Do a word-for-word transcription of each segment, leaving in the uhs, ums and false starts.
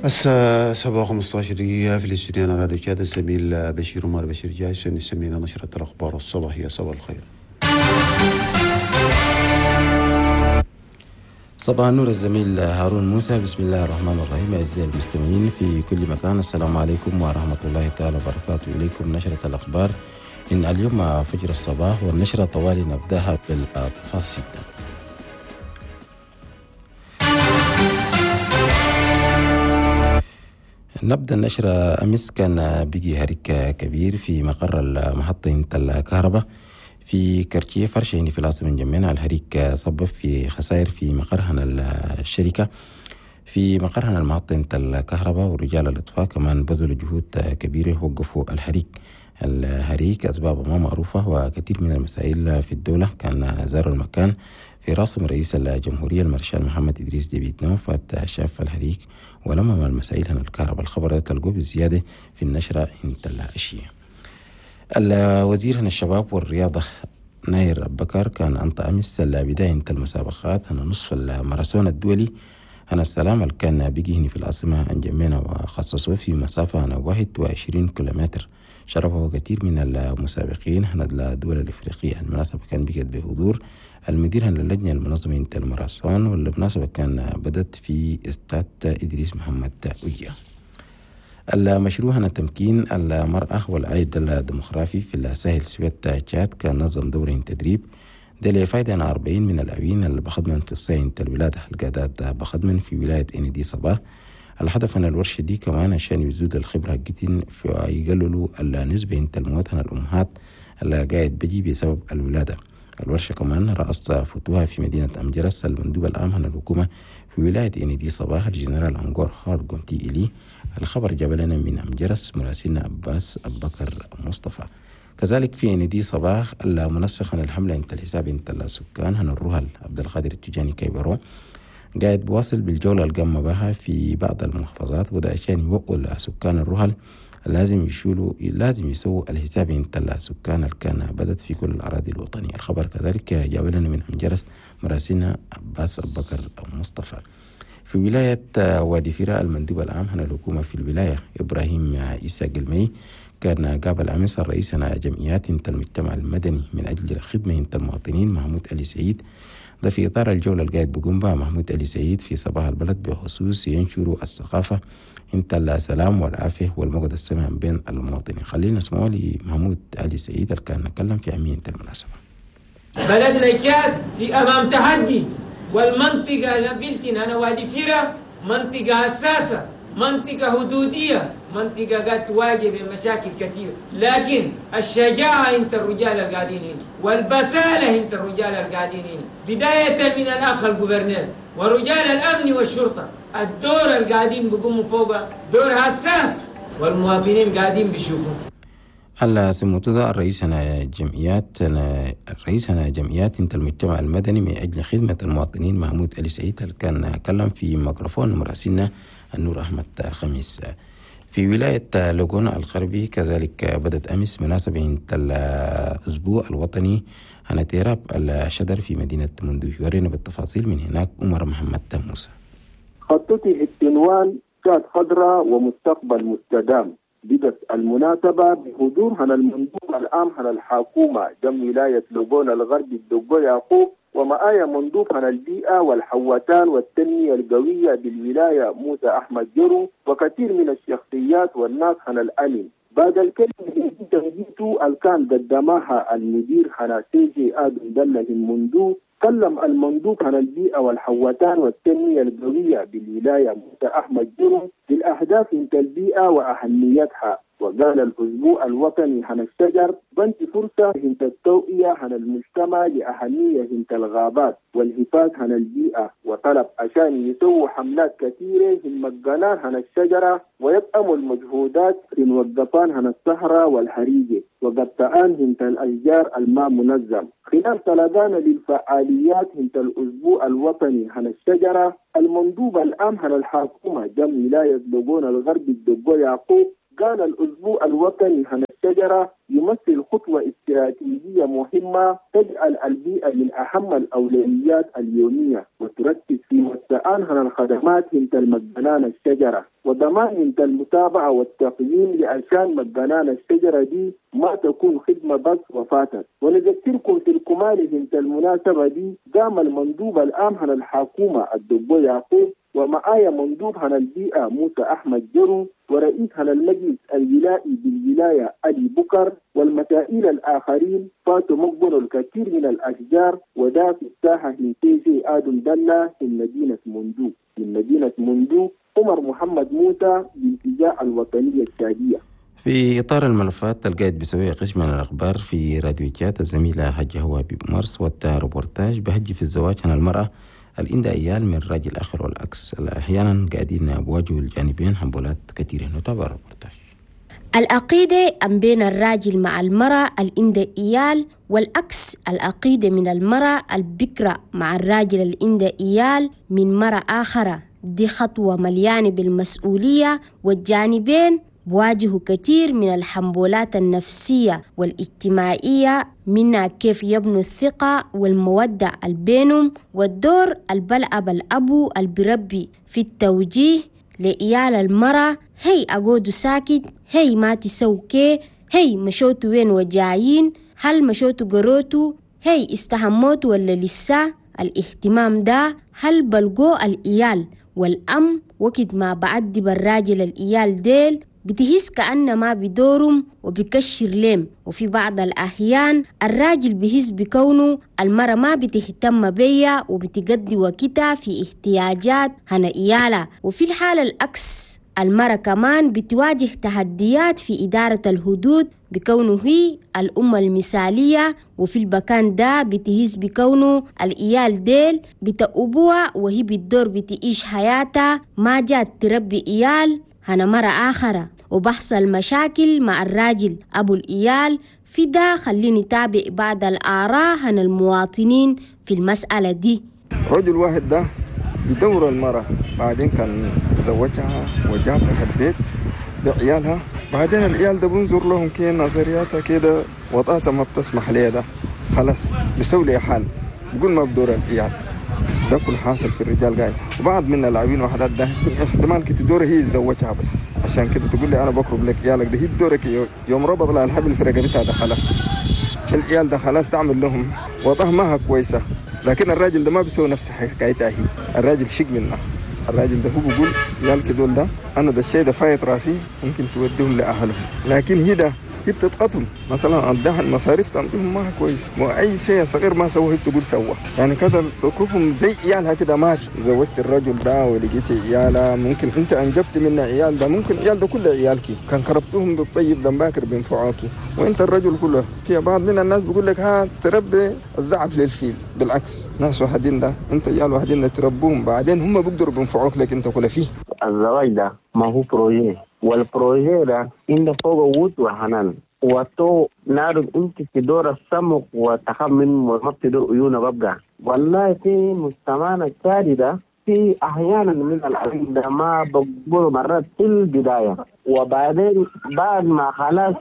الساعة سبعة وخمسة عشر دقيقة في الاستوديو راديو تشاد، الزميل بشير عمر بشير جاهز يسمينا نشرة الأخبار الصباحية. صباح الخير. صباح النور الزميل هارون موسى. بسم الله الرحمن الرحيم. أعزائي المستمعين في كل مكان، السلام عليكم ورحمة الله تعالى وبركاته. إليكم نشرة الأخبار إن اليوم فجر الصباح، والنشرة طوالي نبدأها بالتفاصيل. نبدأ النشرة. أمس كان بيجي هريك كبير في مقر المحطة الكهرباء في كرتيه فرشة في العاصمة جميعا. الهريك سبب في خسائر في مقرهن الشركة في مقرهن المحطة الكهرباء، ورجال الإطفاء كمان بذلوا جهود كبيرة وقفوا الحريق. الهريك أسبابه ما معروفة، وكثير من المسائل في الدولة كان زاروا المكان في راسم رئيس الجمهورية المارشال محمد إدريس ديبي إتنو، فات شاف الحريق ولما المسائل هنا الكهرباء. الخبر تلقوه بالزيادة في النشرة انت الأشياء. الوزير هنا الشباب والرياضة ناير بكر كان أنت أمس بداية المسابقات هنا نصف الماراثون الدولي هنا السلام اللي كان بيجي هنا في العاصمة انجمينا، وخصصوه في مسافة هنا واحد وعشرين كيلومتر، شرفه كثير من المسابقين هنا الدول الإفريقية. المناسبة كان بقت بحضور المدير هنا اللجنة المنظمة انت الماراثون، والمناسبة كان بدت في استاد إدريس محمد أوجيا. المشروع هنا تمكين المرأة والعائد الديموغرافي في الساحل سويت تشاد كان نظم دورة تدريب ده لفايدة عن أربعين من الأوين اللي بخدمن في الصين الولادة القادات بخدمن في ولاية إندي صباح. الهدف أن الورشة دي كمان عشان يزود الخبرة جدا في يقللوا النسبة انت الموت عن الأمهات اللي قاعد بيجي بسبب الولادة. الورشة كمان رأس فتوها في مدينة أمجرس المندوب العام عن الحكومة في ولاية إندي صباح الجنرال أنغور هارجونتي إلي. الخبر جاب لنا من أمجرس مراسلنا عباس أبكر مصطفى. كذلك في إندي صباح المنسق عن الحملة انت الحساب انت السكان هن الرهل عبد القادر التجاني كيبرو قاعد بواصل بالجولة القامة بها في بعض المحافظات، وده عشان يوقوا سكان الرهل لازم يشيلوا لازم يسووا الحساب انت السكان اللي كان بدت في كل الأراضي الوطنية. الخبر كذلك جاب لنا من أمجرس مراسلنا عباس أبكر مصطفى. في ولاية وادي فراء المندوب العام هنا الحكومة في الولاية إبراهيم عيسى قلمي كان قابل أمس الرئيس هنا جمعيات انت المجتمع المدني من أجل الخدمة انت المواطنين محمود علي سعيد. ده في إطار الجولة القاعد بقوم بها محمود علي سعيد في صباح البلد بخصوص ينشروا الثقافة انت السلام والعافية والمقعد السمع بين المواطنين. خلينا نسمعوا لمحمود علي سعيد اللي كان نتكلم في أهمية المناسبة. بلدنا تشاد في أمام تحدي، والمنطقة نبيلتنا أنا وادي فيرا منطقة حساسة، منطقة حدودية، منطقة قاعد تواجه بمشاكل كثير، لكن الشجاعة انت الرجال القاعدين هنا والبسالة انت الرجال القاعدين هنا، بداية من الأخ الجوفرنير ورجال الأمن والشرطة، الدور القاعدين بيقوموا فوق دور حساس والمواطنين قاعدين بيشوفوا. على سموتو الرئيس أنا جمعيات أنا الرئيس أنا جمعيات انت المجتمع المدني من أجل خدمة المواطنين محمود علي سعيد اللي كان كلم في ميكروفون مراسلنا النور أحمد خميس. في ولاية لوغون الغربي كذلك بدت أمس مناسبة انت الأسبوع الوطني عن تيراب الشجر في مدينة مندوه. يورينا بالتفاصيل من هناك عمر محمد موسى. خطته العنوان تشاد خضراء ومستقبل مستدام. بدت المناسبة بحضور هنا المندوب العام هنا الحكومة جم ولاية لوغون الغربي الدقو يعقوب، ومعايا مندوب هنا البيئة والحوتان والتنمية القوية بالولاية موسى أحمد جرو، وكثير من الشخصيات والناس هنا الأمن. بعد الكلمة تنجيتو الكان قدمها المدير هنا سيجي آدم دله المندوب، كلم المندوب عن البيئة والحوتان والتنمية القوية بالولاية موسى أحمد جرو بالأهداف انت البيئة وأهميتها، وقال الأسبوع الوطني عن الشجر بنت فرصة انت التوعية عن المجتمع لأهمية انت الغابات والحفاظ عن البيئة، وطلب عشان يسووا حملات كثيرة في مجانان عن الشجرة ويدعموا المجهودات في موقفان عن الصحراء والحريجة وقطعان انت الأشجار الماء منظم. خلال طلبان للفعاليات انت الأسبوع الوطني عن الشجرة، المندوب العام عن الحكومة جم ولاية لوغون الغربي الدقو يعقوب قال الأسبوع الوطني عن الشجرة الشجرة يمثل خطوة استراتيجية مهمة تجعل البيئة من أهم الأولويات اليومية، وتركز في وسعانها الخدمات انت المجنان الشجرة وضمان انت المتابعة والتقييم لعشان مجنان الشجرة دي ما تكون خدمة بس وفاتت. ونذكركم في الكمال انت المناسبة دي قام المندوب العام عن الحكومة الدبو يعقوب، ومعايا مندوب عن البيئة موسى أحمد جرو، ورئيس عن المجلس الولائي بالولاية علي بكر، والمسائل الآخرين فاتوا مقبل الكثير من الأشجار، ودا في الساحة هنتيجي آدم دلة في مدينة مندو. من مدينة مندو عمر محمد موسى بالاتجاه الوطنية التشادية. في إطار الملفات القاعد بسوي قسم من الأخبار في راديو تشاد الزميلة هجة هوابي بمارس والريبورتاج بهجي في الزواج عن المرأة الإندا إيال من راجل آخر والعكس، أحيانا قاعدين بواجهوا الجانبين حنبولات كثيرة. نتابع الريبورتاج. العقيدة أم بين الراجل مع المرأة الإندا إيال، والعكس العقيدة من المرأة البكرة مع الراجل الإندا إيال من مرأة آخرة. دي خطوة مليانة بالمسؤولية، والجانبين بواجهوا كثير من الحنبولات النفسية والاجتماعية، منها كيف يبنوا الثقة والمودة البينهم، والدور البلعب الأبو البربي في التوجيه لإيال المرأة، هي أقود ساكت، هي ما تسوكي، هي مشوتوا وين وجايين، هل مشوتوا قروتوا، هي استهموتوا ولا لسه. الاهتمام ده هل بلقو الإيال والأم وقت ما بعدي بالراجل الإيال ديل بتهس كأن ما بدورهم وبكشر لهم. وفي بعض الأحيان الراجل بهس بكونه المرأة ما بتهتم بيا وبتقضي وقتها في احتياجات هنا إيالة. وفي الحالة العكس المرأة كمان بتواجه تحديات في إدارة الحدود بكونه هي الأم المثالية، وفي البكان ده بتهز بكونه الإيال ديل بتأبوها وهي بالدور بتعيش حياتها ما جات تربي إيال هنا مرة آخرة، وبحصل مشاكل مع الراجل أبو الإيال. في ده خليني تابع بعض الآراء عن المواطنين في المسألة دي. رجل واحد ده بدور المرأة، بعدين كان زوجها وجابها البيت بعيالها، بعدين العيال ده بنظر لهم كي نظرياتها كده وضعتها ما بتسمح لي ده خلاص بيسوي لي حال بقول ما بدور العيال ده كل حاصل في الرجال قاعد. وبعض من اللاعبين وحدات ده احتمال كده دور هي تزوجها بس عشان كده تقول لي انا بقرب لك عيالك ده، هي دورك يوم ربط لها الحبل في رقبتها ده خلاص العيال ده خلاص تعمل لهم وضعها ما كويسه. لكن الراجل ده ما بيسوي نفس حكايتها هي، الراجل شق منها، الراجل ده هو بيقول عيالك دول ده انا ده الشيء ده فايت راسي ممكن توديهم لاهلهم، لكن هي ده هي بتتقتل مثلا عندها المصاريف تعطيهم ما كويس واي شيء صغير ما سووه هي بتقول سوى يعني كده بتكرفهم زي عيالها كده. ما زوجت الرجل ده ولقيتي عيالها ممكن انت انجبت منه عيال ده ممكن عيال ده كله عيالك كان كربتهم بالطيب ده باكر بينفعوكي وانت الرجل كله. في بعض من الناس بيقول لك ها تربي الزعف للفيل، بالعكس ناس واحدين ده انت عيال واحدين ده تربوهم بعدين هم بيقدروا بينفعوك لك انت كله فيه. الزواج ده ما هو projet، وال projet ده إن فوق ود وحنان وتو نعرف انت في دور السمك وتخمن وما بتدور عيونه ببقى. والله في مجتمعنا التالي ده في احيانا من العيون ده ما بقبلوا مرات في البدايه، وبعدين بعد ما خلاص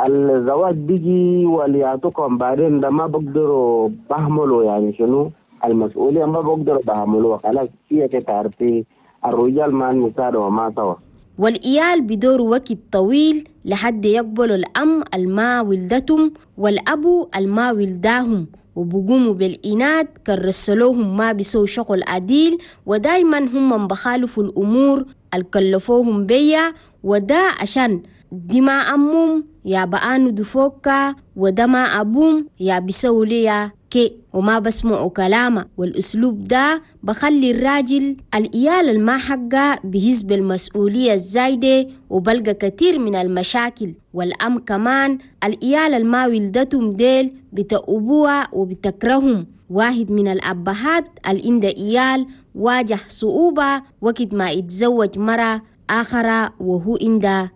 الزواج بيجي وليعطوكم بعدين ده ما بقدروا بهملوا يعني شنو المسؤوليه ما بقدروا بهملوها خلاص. هي تعرفي الرجال مع النساء وما سوا. والإيال بدور وقت طويل لحد يقبلوا الأم الما ولدتهم والأبو الما ولداهم، وبقوموا بالإناد كرسلوهم ما بيسوا شغل عديل، ودايما هم بخالفوا الأمور الكلفوهم بيا، ودا عشان دي ما أمهم يا بقانو دفوكا ودا ما أبوم يا بيسوا ليا كي وما بسمعوا كلامه. والأسلوب ده بخلي الراجل الإيال الما حقه بهز بالمسؤولية الزايدة وبلقى كتير من المشاكل. والأم كمان الإيال الما ولدتهم ديل بتأبوها وبتكرههم. واحد من الأبهات الإندا إيال واجه صعوبة وقت ما يتزوج مرة آخرة وهو إندا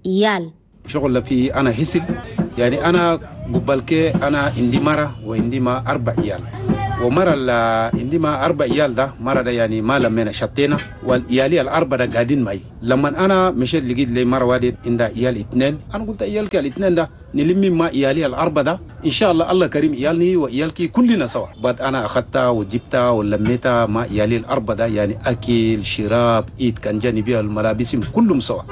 إيال. شغل في أنا حسب يعني أنا قبل كي أنا عندي مرة وعندي ما أربع عيال. ومرة عندي ما أربع عيال ده مرة ده يعني ما لمينا شتينا، والعيالي الأربعة ده قاعدين معي. لما أنا مشيت لقيت لي مرة واحدة عندها عيال اثنين، أنا قلت عيالك الاثنين ده نلمي ما عيالي الأربعة ده إن شاء الله الله كريم عيالني وعيالك كلنا سوا. بعد أنا أخذتها وجبتها ولميتها ما عيالي الأربعة ده يعني أكل شراب إيد كان جانبي الملابس كلهم سوا،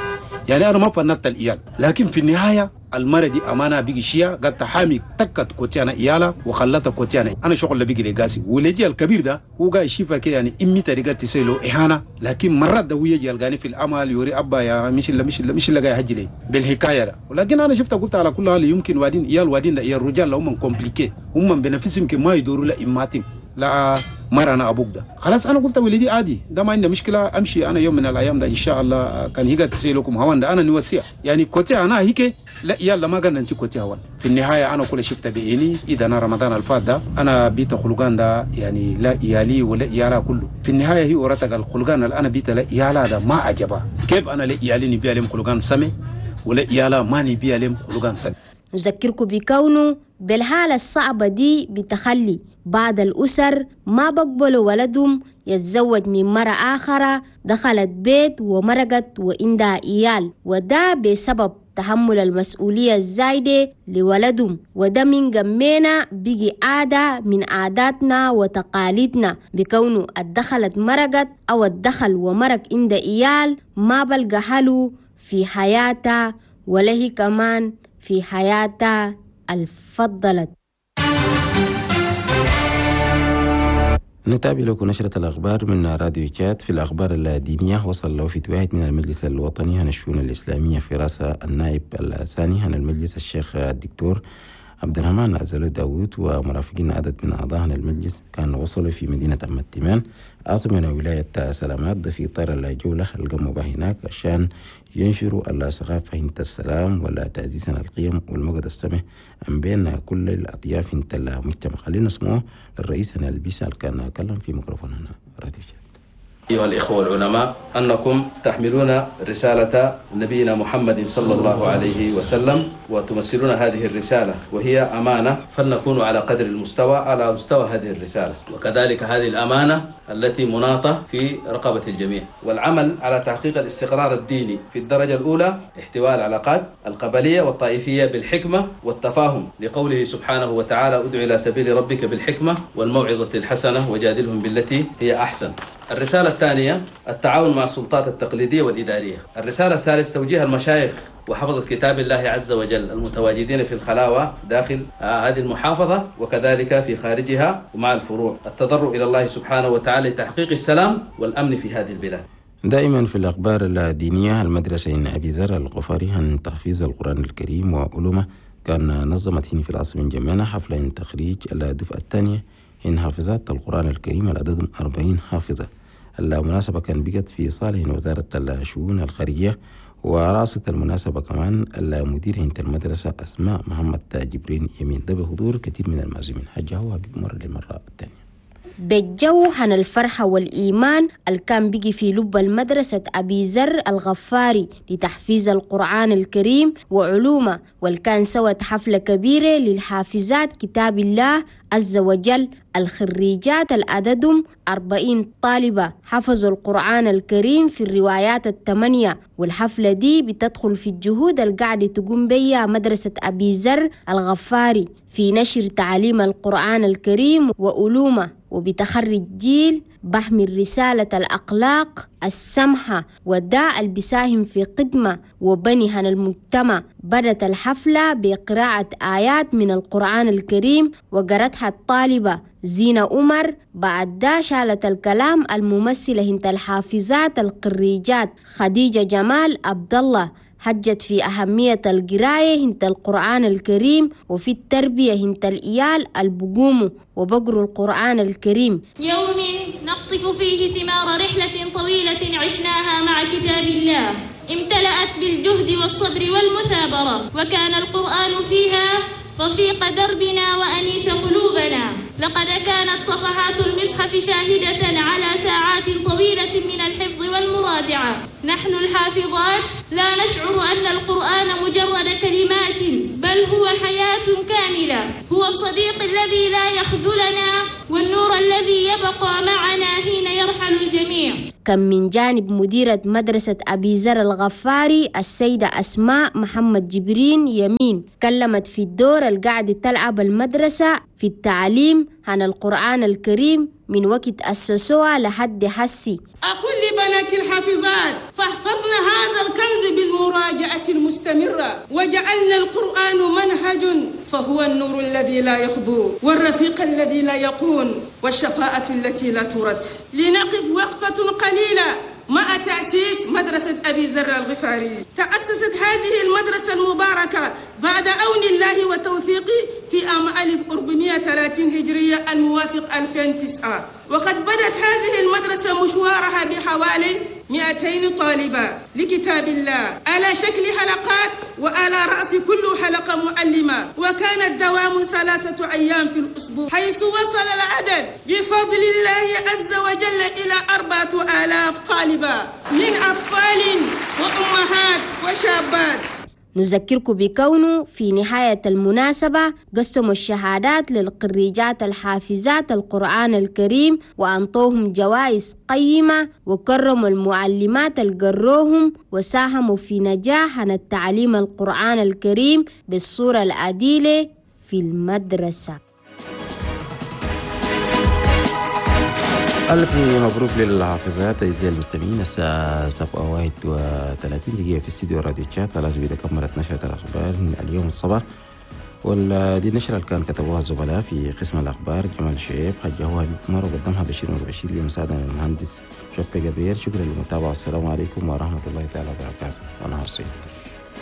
يعني أنا ما فنت العيال. لكن في النهاية المرة دي أمانة بيجي شيا قد تحامي تكت كوتيانا إيالا وخلتها كوتيانا. أنا شغل اللي بيجي لقاسي ولدي الكبير ده هو قاعد يشوفها كده يعني إمي طريقة تسيله إهانة، لكن مرات ده هو يجي يلقاني في الأمل يوري أبا يا مش اللي مش اللي مش اللي قاعد يهجي لي بالحكاية ده. ولكن أنا شفتها قلت على كل حال يمكن وادين إيال وادين لا إيال الرجال هم كومبليكي هم بنفسهم ما يدوروا لا إماتهم لا مرة أنا أبوك ده. خلاص أنا قلت ولدي عادي ده ما عندي مشكلة، أمشي أنا يوم من الأيام ده إن شاء الله كان هيك تسيلكم هوان ده أنا نوسيع يعني كوتي أنا هيك لا يلا ما قلنا أنت كوتي هوان. في النهاية أنا كل شفت بعيني إذا أنا رمضان الفات ده أنا بيت خلقان ده يعني لا إيالي ولا إيالا كله. في النهاية هي ورتك الخلقان اللي أنا بيت لا إيالا ده ما عجبها. كيف أنا لا إيالي نبي عليهم خلقان سمي ولا إيالا ما نبي عليهم خلقان سمي. نذكركم بكونه بالحالة الصعبة دي بتخلي بعض الأسر ما بقبلوا ولدهم يتزوج من مرة آخرة دخلت بيت ومرقت وعندها إيال، وده بسبب تحمل المسؤولية الزايدة لولدهم، وده من جمينا بيجي عادة من عاداتنا وتقاليدنا بكونه الدخلت مرقت أو الدخل ومرق عند إيال ما بلقى حلو في حياتها ولا هي كمان في حياتها الفضلت. نتابع لكم نشرة الأخبار من راديو تشاد. في الأخبار الدينية وصل لوفد واحد من المجلس الوطني عن الشؤون الإسلامية في رأس النائب الثاني عن المجلس الشيخ الدكتور عبد الرحمن عزلو داوود ومرافقين عدد من أعضاء المجلس كانوا وصلوا في مدينة أم التيمان عاصمة ولاية سلامات في إطار الجولة القاموا بها هناك عشان ينشروا الثقافة انت السلام ولا تعزيزا القيم والمقد السمح بين كل الأطياف انت المجتمع. خلينا نسمعه للرئيس البيسال كان كلم في ميكروفون هنا راديو. أيها الإخوة العلماء، أنكم تحملون رسالة نبينا محمد صلى الله عليه وسلم وتمثلون هذه الرسالة وهي أمانة، فلنكون على قدر المستوى على مستوى هذه الرسالة، وكذلك هذه الأمانة التي مناطة في رقبة الجميع، والعمل على تحقيق الاستقرار الديني في الدرجة الأولى، احتواء العلاقات القبلية والطائفية بالحكمة والتفاهم، لقوله سبحانه وتعالى: ادع إلى سبيل ربك بالحكمة والموعظة الحسنة وجادلهم بالتي هي أحسن. الرسالة الثانية التعاون مع السلطات التقليدية والإدارية. الرسالة الثالثة توجيه المشايخ وحفظة كتاب الله عز وجل المتواجدين في الخلاوة داخل هذه المحافظة وكذلك في خارجها ومع الفروع، التضرع إلى الله سبحانه وتعالى لتحقيق السلام والأمن في هذه البلاد. دائما في الأخبار الدينية، المدرسة إن أبي ذر الغفاري عن تحفيظ القرآن الكريم وعلومه كان نظمت هنا في العاصمة جمانة حفلة تخريج الدفعة الثانية إن حافظات القرآن الكريم العدد أربعين حافظة. المناسبة كان بقت في صالح وزارة الشؤون الخارجية، ورأست المناسبة كمان المدير هنت المدرسة أسماء محمد جبرين يمين، ده بحضور كثير من المعزومين. حجة هو بمر للمرة الثانية. بالجو عن الفرحة والإيمان اللي كان بيجي في لب المدرسة أبي ذر الغفاري لتحفيز القرآن الكريم وعلومه، والكان سوت حفلة كبيرة للحافظات كتاب الله عز وجل. الخريجات العددهم أربعين طالبة حفظوا القرآن الكريم في الروايات الثمانية، والحفلة دي بتدخل في الجهود القاعدة تقوم بيها مدرسة أبي ذر الغفاري في نشر تعاليم القرآن الكريم وعلومه، وبتخرج جيل بحمل رسالة الأخلاق السمحة والداء اللي بيساهم في قدمة وبني عن المجتمع. بدت الحفلة بقراءة آيات من القرآن الكريم وقرأتها الطالبة زينة عمر. بعد دا شالت الكلام الممثلة هنت الحافظات القريجات خديجة جمال عبد الله، حجت في أهمية القراية هنت القرآن الكريم وفي التربية هنت الإيال البقوم وبقروا القرآن الكريم. يوم نقطف فيه ثمار رحلة طويلة عشناها مع كتاب الله، امتلأت بالجهد والصبر والمثابرة، وكان القرآن فيها رفيق دربنا وأنيس قلوبنا. لقد كانت صفحات المصحف شاهدة على ساعات طويلة من الحفظ والمراجعة. نحن الحافظات لا نشعر أن القرآن مجرد كلمات، بل هو حياة كاملة، هو الصديق الذي لا يخذلنا والنور الذي يبقى معنا حين يرحل الجميع. كان من جانب مديرة مدرسة أبي ذر الغفاري السيدة أسماء محمد جبرين يمين، كلمت في الدور القاعدة تلعب المدرسة في التعليم عن القرآن الكريم من وقت أسسوها لحد حسي. أقول لبنات الحافظات فاحفظن هذا الكنز بالمراجعة المستمرة، وجعلنا القرآن منهج فهو النور الذي لا يخبو والرفيق الذي لا يقون والشفاءة التي لا ترد. لنقف وقفة قليلة مع تأسيس مدرسة أبي ذر الغفاري. تأسست هذه المدرسة المباركة بعد عون الله وتوفيقه في عام ألف وأربعمائة وثلاثين هجرية الموافق ألفين وتسعة، وقد بدت هذه المدرسة مشوارها بحوالي مئتين طالبة لكتاب الله على شكل حلقات، وعلى رأس كل حلقة معلمة، وكان الدوام ثلاثة أيام في الأسبوع، حيث وصل العدد بفضل الله عز وجل إلى أربعة آلاف طالبة من أطفال وأمهات وشابات. نذكركم بكونه في نهاية المناسبة قسموا الشهادات للقريجات الحافظات القرآن الكريم وأنطوهم جوائز قيمة، وكرموا المعلمات القروهم وساهموا في نجاح عن التعليم القرآن الكريم بالصورة العديلة في المدرسة. ألف مبروك للحافظات أعزائي المستمعين. الساعة سبعة واحد وثلاثين دقيقة في استديو راديو تشاد. خلاص بيدا كملت نشرة الأخبار اليوم الصباح، ودي النشرة اللي كان كتبوها الزملاء في قسم الأخبار جمال شعيب، حجهوها بكمر، وقدمها بشير بشير بمساعدة من المهندس شوقي جبريل. شكرا للمتابعة، والسلام عليكم ورحمة الله تعالى وبركاته، ونهار سعيد.